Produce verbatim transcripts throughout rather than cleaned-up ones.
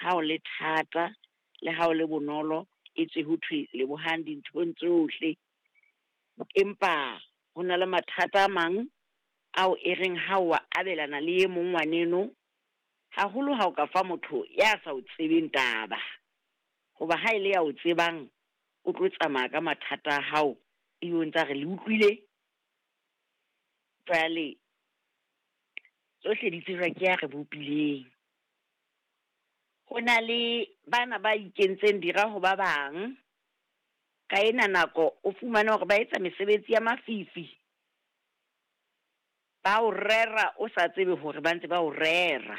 Ha o le thata le ha o le bonolo, etswe ho thwe lebohang dinthong tsohle. Empa ho na le mathata a mang ao e reng ha o a abelana le e mong ngwaneno, haholo ha o ka fa motho ya sa o tsebeng taba. Hoba ha e le ya o tsebang, o tlo tsamaya ka mathata a hao, ebe o ntsa re le utlwile. Jwale tsohle di tsejwa ke ya re bopileng. Ho na le bana ba ikentseng dira ho ba bang, ka ena nako o fumane hore ba etsa mesebetsi ya mafifi. Ba o rera o sa tsebe hore ba ntse ba o rera.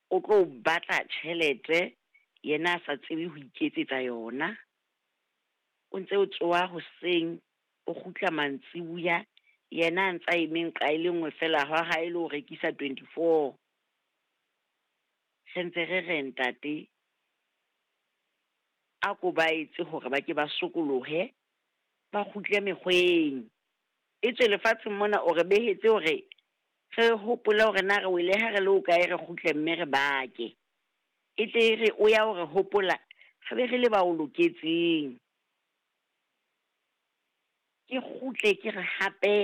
O tlo batla tjhelete yena a sa tsebe ho iketsetsa yona. O ntse o tsoha hoseng, o kgutla mantsibuya, yena a ntsa eme nqa e le nngwe feela hwa hae le ho rekisa twenty-four. Re ntse re re ntate, a ko ba etse hore ba ke ba sokolohe, ba kgutle mekgweng. Etswe lefatsheng mona o re behetse hore re hopole hore na re wele ha re le hokae, re kgutle mme re bake. E tle e re o ya hore hopola, re be re le ba o loketseng. Ke kgutle ke re hape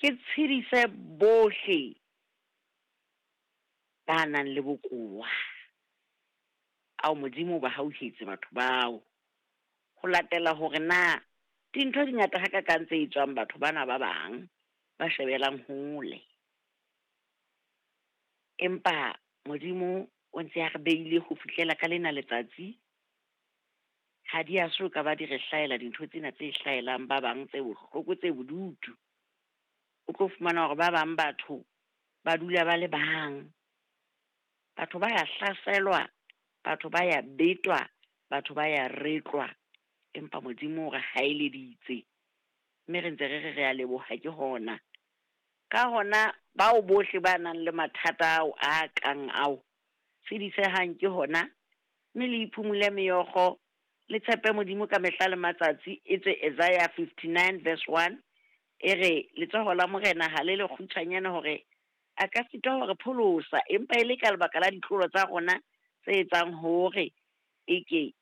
ke tshedise bohle ba nang le bokowa. Ao Modimo o ba hauhetse batho bao. Ho latela hore na dintho di ngata hakakang tse etswang batho bana ba bang ba shebelang hole. Empa Modimo o ntse a re beile ho fihlela ka lena letsatsi. Ha di a so ka ba di re hlahela dintho tsena tse hlahelang ba bang tse bohloko tse bodutu. O tlo fumana hore ba bang batho ba dula ba le bang. Batho ba ya hlaselwa, batho ba ya betwa, batho ba ya retlwa. Empa Modimo o re haeleditse, mme re ntse re re re a leboha ke hona. Ka hona bao bohle ba nang le mathata ao a kang ao, tshedisehang ke hona, mme le iphumule meokgo, le tshepe Modimo ka mehla le matsatsi. Etswe Isaiah fifty-nine verse one e re letsoho la Morena ha le le kgutshwanyane hore a ka sitwa hore pholosa, empa e le ka lebaka la ditlolo tsa rona tse etsang hore eke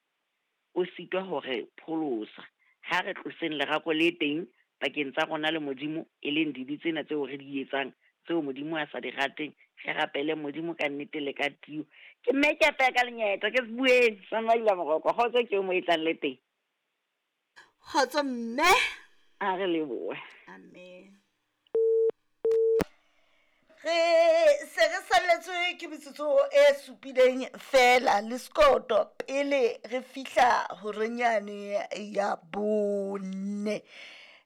o sitwa hore pholosa. Ha re tloseng lerako le teng pakeng tsa rona le Modimo, e leng dibe tsena tseo re di etsang, tseo Modimo a sa di rateng. Re rapele Modimo ka nnete le ka tiyo. Ke mme ke apeya ka lenyeta, ke se bueng sa Maila Moroko. Kgotso ke o mo e tlang le teng. Kgotso mme. A re lebohe. Amen. Re se re salletswe ke metsotso e supileng fela le sekoto pele re fihla horenyane ya bone.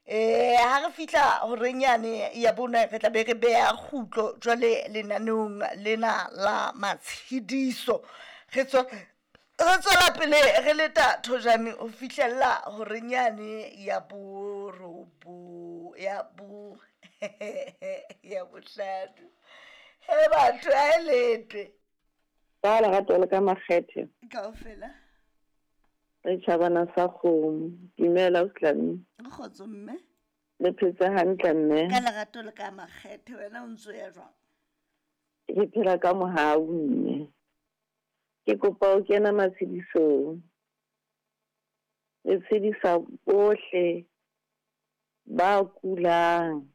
Eh ha re fihla horenyane ya bone re tla be re beha kgutlo jwale lenaneong lena la matshediso. Re tswa re tswela pele re leta thojane ho fihlella horenyane ya borobo ya bo ya bohlano. He batho a e letwe. Ka lerato le ka makgethe. Kaofela. Re tjhabana sa kgomo. Dumela o Tlami. Kgotso mme. Le phetse hantle mme. Ka lerato le ka makgethe wena o ntso ya jwang? Ke phela ka mohau mme. Ke kopa o kena matshedisong. Re tshedisa bohle ba kulang,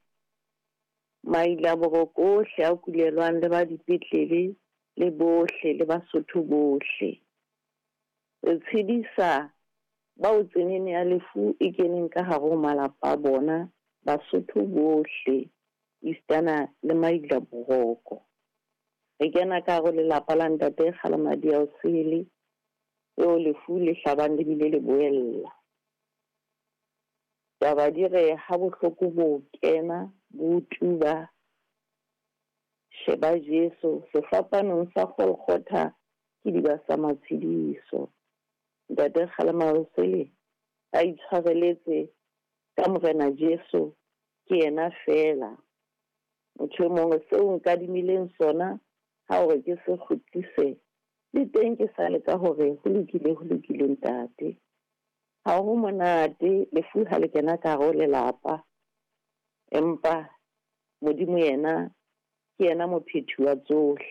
maila boroko ohle a kulelwang le ba dipetlele le bohle le Basotho bohle. Re tshedisa bao tsenene ya lefu e keneng ka hare ho malapa a bona, Basotho bohle, esitana le maila boroko. Re kena ka hare ho lelapa la ntate Kgalemadi ya Osele, eo lefu le hlabang le bile le boella. Taba di re ha bohloko bo kena bo tuba, sheba Jesu sefapanong sa Golgotha ke diba sa matshediso. Ntate Kgalemadi Osele a itshwareletse ka Morena Jesu, ke yena fela. Motho e mongwe seo nkadimileng sona ha hore ke se kgutlise, le teng ke sa leka hore ho lokile, ho lokile ntate. Ha ho monate lefu ha le kena ka hare ho lelapa, empa Modimo yena ke yena mophethi wa tsohle.